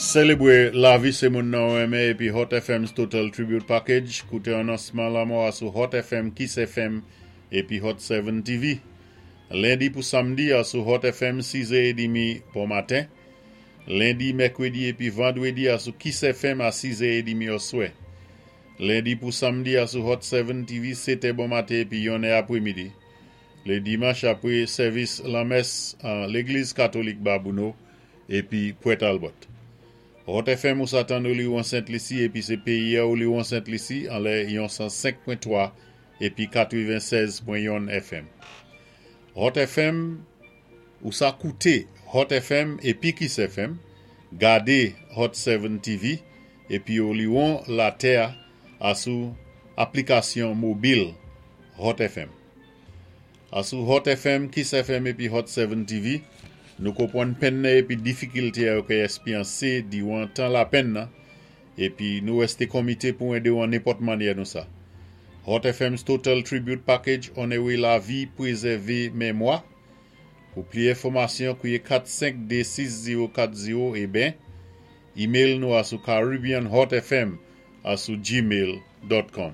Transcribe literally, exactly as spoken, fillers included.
Sélébwé lavi sé moun nan ou renmen épi Hot F M's Total Tribute Package, kouté anonsman lanmò a sou Hot F M, Kiss F M épi Hot sept T V. Lendi pou samdi a sou Hot F M sis è trant bon maten. Lendi, mèkwédi épi vandwédi a sou Kiss F M a sis è trant oswè. Lendi pou samdi a sou Hot sept T V sèt è bon maten épi yon è apwémidi. Lé dimanch apwé sèvis lanmès an Légliz Katolik Babouno épi Port Albert. Hot F M ou sa tann Oliwon Sent Lisi épi sé péyi Oliwon Sent Lisi anlè yon san senk pwen twa épi katwennsèz pwen youn F M. Hot F M ou sa kouté Hot F M épi Kiss F M, gadé Hot sept T V épi Oliwon latè a sou aplikasyon mobil Hot F M. A sou Hot F M, Kiss F M épi Hot sept T V, nou konpwann penn nan épi difikilte yo ka èspéryansé diwan tan lapenn nan, épi nou wèsté komité pou édé ou an nenpòt mannyè nou sa. Hot F M's Total Tribute Package onowé lavi, pwézèvé mémwa. Pou plis enfòmasyon, kouwé kat senk de sis zewo kat zewo é ben, email nou a sou caribbeanhotfm a sou gmail dot com.